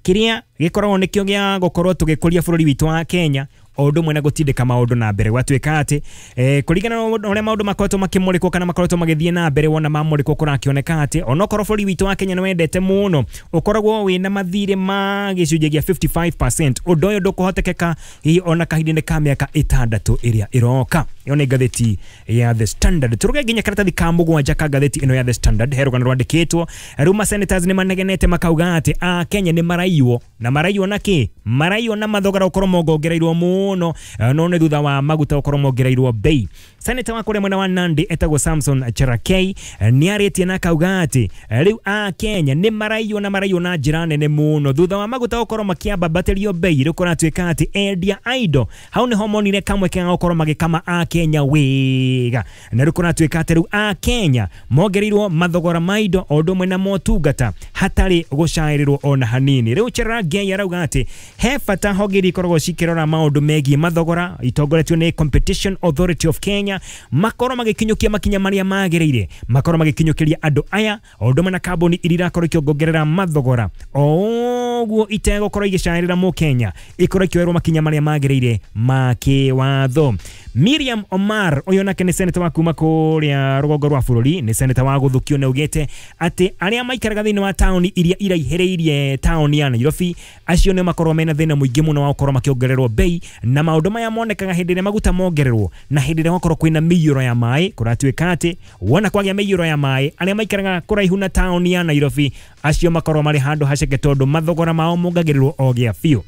kĩrĩa gĩkoragwo nĩkĩo gĩa gũkorwo tũgĩkũria bũrũri witũ wa Kenya o ũndũ ũmwe na gũtindĩka maũndũ na mbere. Gwatuĩka atĩ kũringana na ũrĩa maũndũ makoretwo makĩmũrĩkwo kana makoretwo magĩthiĩ na mbere, wona mamũrĩkwo kũrakĩoneka atĩ onokorwo bũrũri witũ wa Kenya nĩ wendete mũno ũkoragwo wĩna mathirĩ ma gĩcunjĩ gĩa 55%, ũndũ ũyũ ndũkũhotekeka hihi ona kahinda-inĩ ka mĩaka 6 ĩrĩa ĩroka. Ĩyo nĩ ngathĩti ya The Standard. Tũrũge nginya karatathi ka 7 ka ngathĩti ĩno ya The Standard, he rũgano rwandĩkĩtwo rĩu ma senators nĩ manegenete makauga atĩ a Kenya nĩ maraiywo, na maraiywo na kĩ? maraiywo na mathogora gũkorwo mongongereirwo mũno, no nĩ thutha wa maguta gũkorwo mongereirwo bei. Senator wa kũrĩa mwena wa Nandi etagwo Samson Cherargei nĩ arĩtie na akauga atĩ rĩu a Kenya nĩ maraiywo na maraiywo na njĩra nene mũno thutha wa maguta gũkorwo makĩambatĩrio bei. Rĩu kũratuĩka atĩ endia a indo hau nĩho monire kamwe ke gũkorwo magĩkama a Kenya wega, na rĩu kũratuĩka atĩ rĩu a Kenya mongereirwo mathogora ma indo o ũndũ ũmwe na motungata hatarĩ gũcaĩrĩrwo ona hanini. Rĩu Cherargei arauga atĩ he bata honge iria ikoragwo cikĩrora maũndũ megiĩ mathogora itongoretio nĩ Competition Authority of Kenya makorwo magĩkinyũkia makinya marĩa magĩrĩire, makorwo magĩkinyũkĩria andũ aya o ũndũ ũmwe na kambuni iria irakorwo ikĩongerera mathogora o ũguo itegũkorwo igĩcaĩrĩra mũkenya, ikorwo ikĩoerwo makinya marĩa magĩrĩire ma kĩwatho. Miriam Omar ũyũ nake nĩ senator wa kuma kũrĩa rũgongo rwa bũrũri, nĩ senator wa gũthukio, na augĩte atĩ arĩa maikaraga thĩinĩ wa taũni iria iraihĩrĩirie taũni ya Nairobi acio nĩo makorwo mena thĩna mũingĩ mũno wa gũkorwo makĩongererwo bei, na maũndũ maya monekaga hĩndĩ ĩrĩa maguta mongererwo na hĩndĩ ĩrĩa gwakorwo kwĩna mĩiyũro ya maĩ. Kũratuĩka atĩ wona kwagĩa mĩiyũro ya maĩ, arĩa maikaraga kũraihu na taũni ya Nairobi acio makorwo marĩ handũ haceke tondũ mathogora mao mongagĩrĩrwo o gĩa biũ.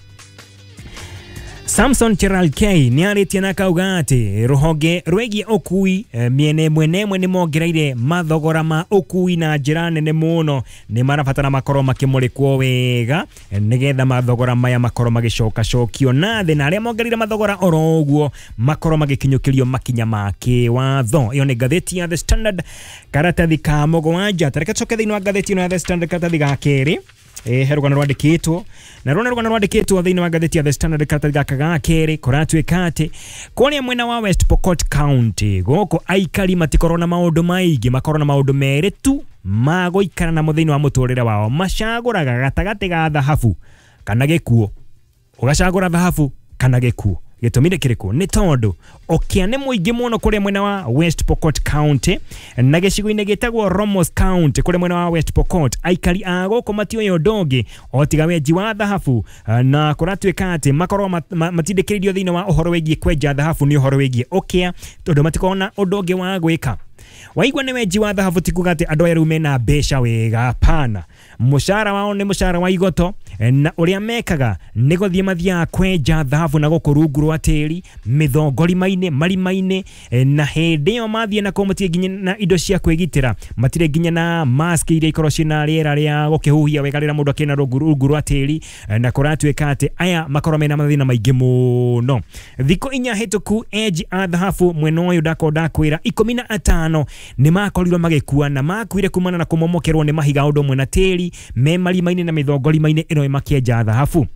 Samson Cherargei nĩ arĩtie na akauga atĩ rũhonge rwĩgiĩ ũkui mĩena ĩmwe na ĩmwe nĩ mongereire mathogora ma ũkui na njĩra nene mũno, nĩ marabatara makorwo makĩmũrĩkwo wega nĩgetha mathogora maya makorwo magĩcokacokio na thĩ, na arĩa mongereire mathogora oro ũguo makorwo magĩkinyũkĩrio makinya ma kĩwatho. Ĩyo nĩ ngathĩti ya The Standard karatathi ka mũgwanja. Tareke tũcoke thĩinĩ wa ngathĩti ĩno ya The Standard karatathi ga kerĩ. He rũgano rwandĩkĩtwo na rũna rũgano rwandĩkĩtwo thĩinĩ wa ngathĩti ya The Standard karatathi gaka ga kerĩ. Kũratuĩka atĩ kũrĩa mwena wa West Pokot County gũkũ aikari matikorwo na maũndũ maingĩ, makorwo na maũndũ merĩ tu ma gũikara namo thĩinĩ wa mũtũrĩre wao. Macagũraga gatagatĩ ga thahabu kana gĩkuũ. Ũgacagũra thahabu kana gĩkuũ. Gĩtũmi nĩ kĩrĩkũ? Nĩ tondũ ũkĩa nĩ mũingĩ mũno kũrĩa mwena wa West Pokot County na gĩcigo-inĩ gĩtagwo Romos County kũrĩa mwena wa West Pokot aikari a gũkũ matiũĩ ũndũ ũngĩ o tiga wenji wa thahabu, na kũratuĩka atĩ makorwo matindĩkĩrĩirio thĩinĩ wa ũhoro wĩgiĩ kwenja thahabu nĩ ũhoro wĩgiĩ ũkĩa, tondũ matikoragwo na ũndũ ũngĩ wa gwĩka. Waigua nĩ wenji wa thahabu ti kuga atĩ andũ aya rĩu mena mbeca wega, hapana. Mũcara wao nĩ mũcara wa igoto, na ũrĩa mekaga nĩ gũthiĩ mathiaga kwenja thahabu na gũkũ rungu rwa tĩri mĩthongorima-inĩ marima-inĩ, na hĩndĩ ĩyo mathiĩ na kũu matirĩ nginya na indo cia kwĩgitĩra, matirĩ nginya na mask iria ikorwo ciĩna rĩera rĩa gũkĩhuhia wega rĩrĩa mũndũ akĩna rungu rwa tĩri, na kũratuĩka atĩ aya makorwo mena mathĩna maingĩ mũno. Thikũ 4 hĩtũku enji a thahabu mwena ũyũ ndakorwo ndakwĩra 15 nĩ makorirwo magĩkua, na makuire kumana na kũmomokerwo nĩ mahiga ũndũ ũmwe na tĩri me marima-inĩ na mĩthongorima-inĩ ĩno makĩenja thahabu.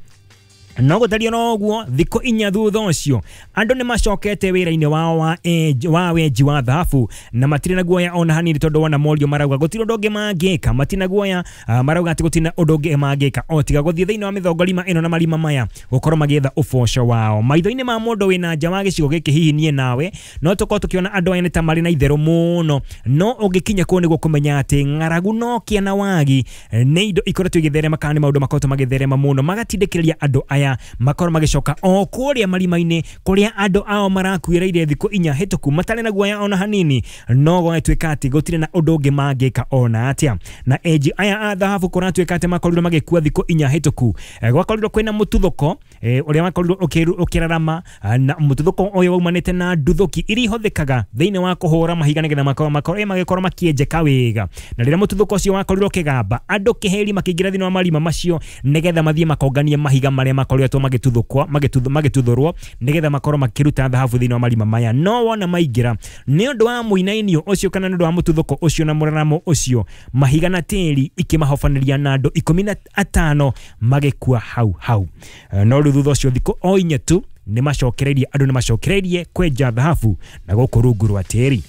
No gũtariĩ no ũguo thikũ 4 thutha ũcio andũ nĩ macokete wĩra-inĩ wao wa wenji wa thahabu na matirĩ na guoya ona hanini, tondũ wona morio marauga gũtirĩ ũndũ ũngĩ mangĩka, matirĩ na guoya, marauga atĩ gũtirĩ na ũndũ ũngĩ mangĩka o tiga gũthiĩ thĩinĩ wa mĩthongorima ĩno na marima maya gũkorwo magĩetha ũboco wao. Maitho-inĩ ma mũndũ wĩna nja wa gĩcigo gĩkĩ hihi niĩ nawe no tũkorwo tũkĩona andũ aya nĩ ta marĩ na itherũ mũno, no ũngĩkinya kũu nĩguo kũmenya atĩ ng'aragu no kĩa na wagi nĩ indo ikoretwo igĩtherema kana nĩ maũndũ makoretwo magĩtherema mũno magatindĩkĩrĩria andũ aya makorwo magĩcoka o kũrĩa marima-inĩ kũrĩa andũ ao marakuĩrĩire thikũ 4 hĩtũku matarĩ na guoya ona hanini, no gwatuĩka atĩ gũtirĩ na ũndũ ũngĩ mangĩka ona atĩa. Na enji aya a thahabu kũratuĩka atĩ makorirwo magĩkua thikũ 4 hĩtũku, gwakorirwo kwĩna mũtuthũko ũrĩa wakorirwo ũkĩrarama, na mũtuthũko ũyũ waumanĩte na nduthũki iria ihũthĩkaga thĩinĩ wa kũhũra mahiga nĩgetha makorwo magĩkorwo makĩenjeka wega. Na rĩrĩa mũtuthũko ũcio wakorirwo ũkĩgamba, andũ kĩheri makĩingĩra thĩinĩ wa marima macio nĩgetha mathiĩ makonganie mahiga marĩa makoretwo magĩtuthũrwo nĩgetha makorwo makĩruta thahabu thĩinĩ wa marima maya. No wona maingĩra nĩ ũndũ wa mũinainio ũcio kana nĩ ũndũ wa mũtuthũko ũcio na mũraramo ũcio, mahiga na tĩri ikĩmahobanĩria na andũ 15 magĩkua hau hau. No rĩu thutha ũcio thikũ o 4 tu nĩ macokereirie, andũ nĩ macokereirie kwenja thahabu na gũkũ rungu rwa tĩri.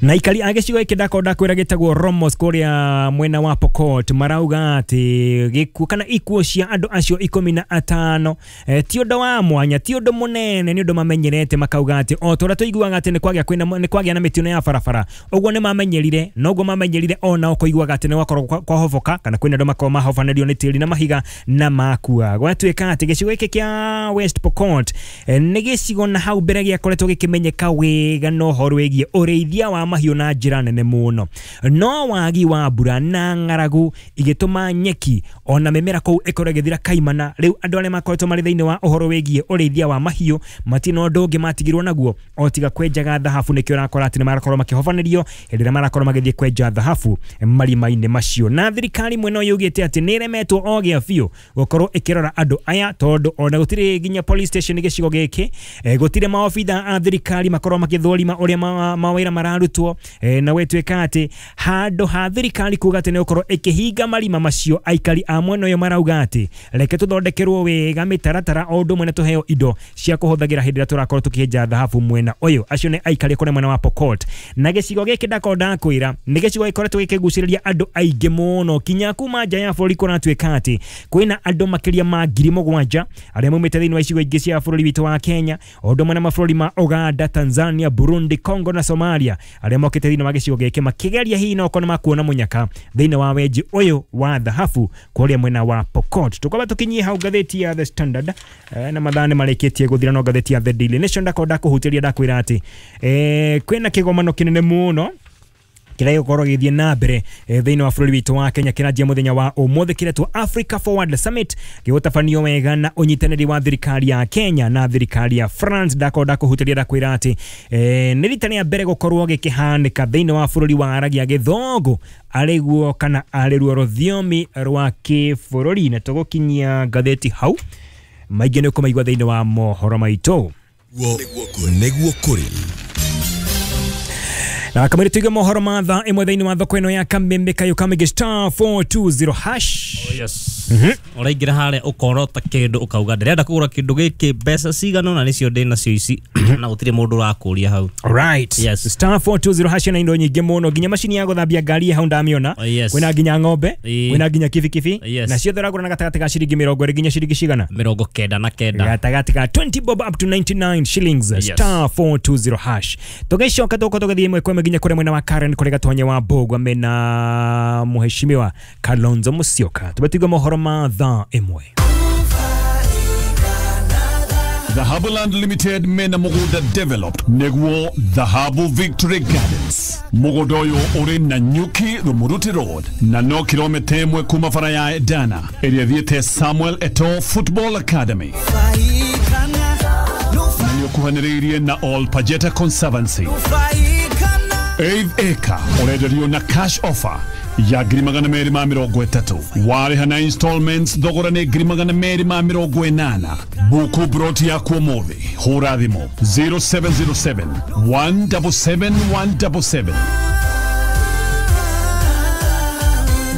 Na aikari a gĩcigo gĩkĩ ndakorwo ndakwĩra gĩtagwo Romos kũrĩa mwena wa Pokot marauga atĩ gĩkuũ kana ikuũ cia andũ acio 15 ti ũndũ wa mwanya, ti ũndũ mũnene, nĩ ũndũ mamenyerete, makauga atĩ o ta ũrĩa tũiguaga atĩ nĩ kwagĩa na mĩtino ya barabara ũguo nĩ mamenyerire, noguo mamenyerire onao kũiguaga atĩ nĩ gwakorwo kwahoboka kana kwĩna andũ makorwo mahobanĩrio nĩ tĩri na mahiga na makua. Gwatuĩka atĩ gĩcigo gĩkĩ kĩa West Pokot nĩ gĩcigo na hau mbere gĩakoretwo gĩkĩmenyeka wega na ũhoro wĩgiĩ ũrĩithia wa mahiũ na njĩra nene mũno. No wagi wa mbura na ng'aragu igĩtũma nyeki ona mĩmera kũu ĩkorwo ĩgĩthira kaimana. Rĩu andũ arĩa makoretwo marĩ thĩinĩ wa ũhoro wĩgiĩ ũrĩithia wa mahiũ matina ũndũ ũngĩ matigirwo naguo o tiga kwenjaga thahabu. Nĩkĩo ũrakora atĩ nĩ marakorwo makĩhobanĩrio hĩndĩ ĩrĩa marakorwo magĩthiĩ kwenja thahabu marima-inĩ macio. Na thirikari mwena ũyũ yugĩte atĩ nĩ ĩremetwo o gĩa biũ gũkorwo ĩkĩrora andũ aya, tondũ ona gũtirĩ nginya police station gĩcigo gĩkĩ, gũtirĩ maobitha a thirikari makorwo makĩthũrima ũrĩa mawĩra mararutwo, na gwĩtuĩka atĩ handũ ha thirikari kuga atĩ nĩ gũkorwo ĩkĩhinga marima macio, aikari a mwena ũyũ marauga atĩ reke tũthondekerwo wega mĩtaratara o ũndũ ũmwe na tũheo indo cia kũhũthagĩra hĩndĩ ĩrĩa tũrakorwo tũkĩenja thahabu mwena ũyũ. Acio nĩ aikari kũrĩa mwena wa Pokot. Na gĩcigo gĩkĩ ndakorwo ndakwĩra nĩ gĩcigo gĩkoretwo gĩkĩgucĩrĩria andũ aingĩ mũno kinya kuma nja ya bũrũri. Kũratuĩka atĩ kwĩna andũ makĩria ma 7,000 arĩa maumĩte thĩinĩ wa icigo ingĩ cia bũrũri witũ wa Kenya, o ũndũ ũmwe na mabũrũri ma Uganda, Tanzania, Burundi, Congo na Somalia arĩa mokĩte thĩinĩ wa gĩcigo gĩkĩ makĩgeria hihi no okorwo makuona mũnyaka thĩinĩ wa wenji ũyũ wa thahabu kũrĩa mwena wa Pokot. Tũkwamba tũkinyie hau ngathĩti ya The Standard, na mathaa nĩ marĩkĩtie gũthira, no ngathĩti ya The Daily Nation ndakorwo ndakũhutĩria ndakwĩra atĩ kwĩna kĩgomano kĩnene mũno kĩrĩa gĩgũkorwo gĩgĩthiĩ na mbere thĩinĩ wa bũrũri witũ wa Kenya kĩranjia mũthenya wa ũmũthĩ, kĩretwo Africa Forward Summit, gĩgũtabanio wega na ũnyitanĩri wa thirikari ya Kenya na thirikari ya France. Ndakorwo ndakũhutĩria ndakwĩra atĩ nĩ rita rĩa mbere gũkorwo gĩkĩhanĩka thĩinĩ wa bũrũri wa aragia gĩthũngũ arĩguo kana arĩruo rũthiomi rwa kĩbũrũri. Na tũgũkinyia ngathĩti hau, maingĩ nĩ ũkũmaigua thĩinĩ wa mohoro maitũ. Nĩguo kũrĩ na kamere tuige mohoro ma thaa ĩmwe thĩinĩ wa thoko ĩno ya Kameme Kayo Kamege star 420 hash. Oh yes. Ũraingĩra harĩa ũkorota kĩndũ ũkauga ndĩrenda kũgũra kĩndũ gĩkĩ mbeca cigana na nĩcio ndĩ nacio ici na gũtirĩ mũndũ ũrakũria hau. Alright. Yes. Star 420 hash na indo nyingĩ mũno nginya macini ya gũthambia ngari hau ndamĩona. Oh, yes. Kwĩna nginya ng'ombe, kwĩna nginya kibikibi. Yes. Na ciothe ũragũra na gatagatĩ ka ciringi 20 nginya ciringi cigana? 99. Gatagatĩ ka 20 bob up to 99 shillings. Yes. Star 420 hash. Tũgĩcoka tũgũkorwo tũgĩthiĩ ĩmwe kwa ĩmwe nginya kũrĩa mwena wa Karen kũrĩa Gatonye wa Mbũgua mena mheshimiwa Kalonzo Musyoka. Tũbatiga mohoro ma thaa ĩmwe. Dhahabu Land Limited mena mugunda developed niguo Dhahabu Victory Gardens. Mugunda uyu uri na Nyuki Rumuruti Road na no kilomita 1 kuma bara ya Edana ĩrĩa ĩthiĩte Samuel Eto'o Football Academy na nĩũkuhanĩrĩirie na All Pajeta Conservancy. 8 acre ũrenderio na cash offer ya 230,000 warĩha na installments thogora nĩ 280,000. Buku broti yaku ũmũthĩ, hũra thimũ 0707 177 177.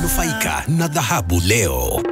Nufaika na dhahabu leo.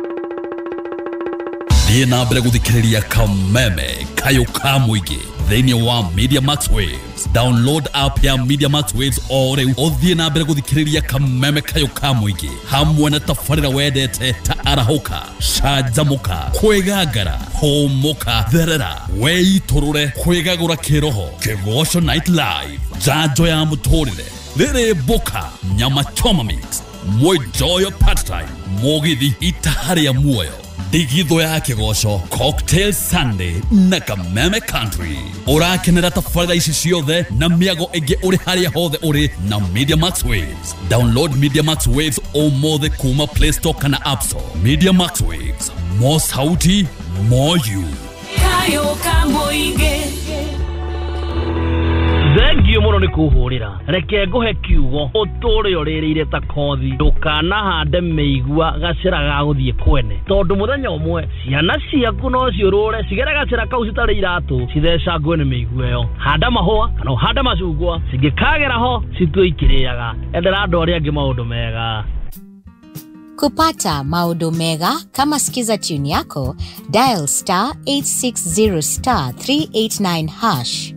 Thiĩ na mbere gũthikĩrĩria Kameme Kayo ka mũingĩ thĩinĩ wa Media Max Waves. Download app ya Media Max Waves o rĩu ũthiĩ na mbere gũthikĩrĩria Kameme Kayo ka mũingĩ hamwe na tabarĩra wendete ta arahũka, canjamũka, kwĩgangara, hũmũka, therera, weitũrũre, kwĩgagũra kĩroho, Kĩgoco Night Live, njanjo ya mũtũrĩre, rĩrĩ mboka, nyama choma mix, mwenjoyo part time, mũgithi itaha rĩa muoyo, ndigithũ ya kĩgoco, Cocktail Sunday na Kameme Country. Ũrakenera tabarĩra ici ciothe na mĩago ĩngĩ ũrĩ harĩa hothe ũrĩ na Media Max Waves. Download Media Max Waves ũmũthĩ kuma Play Store kana App Store. Media Max Waves, more sauti, more you. Kayo ka mũingĩ. Thengio mũno nĩ kũhũrĩra. Reke ngũhe kiugo ũtũre ũrĩrĩire ta kothi, ndũkanahande mĩigua gacĩra ga gũthiĩ kwene, tondũ mũthenya ũmwe ciana ciaku no ciũrũre cigere gacĩra kau citarĩ iratũ cithecangwe nĩ mĩigua ĩyo. Handa mahũa kana ũhande macungwa, cingĩkagera ho citue ikĩrĩaga. Endera andũ arĩa angĩ maũndũ mega. Kupata maodo mega kama Skiza tune yako, dial star 860 star 389 hash.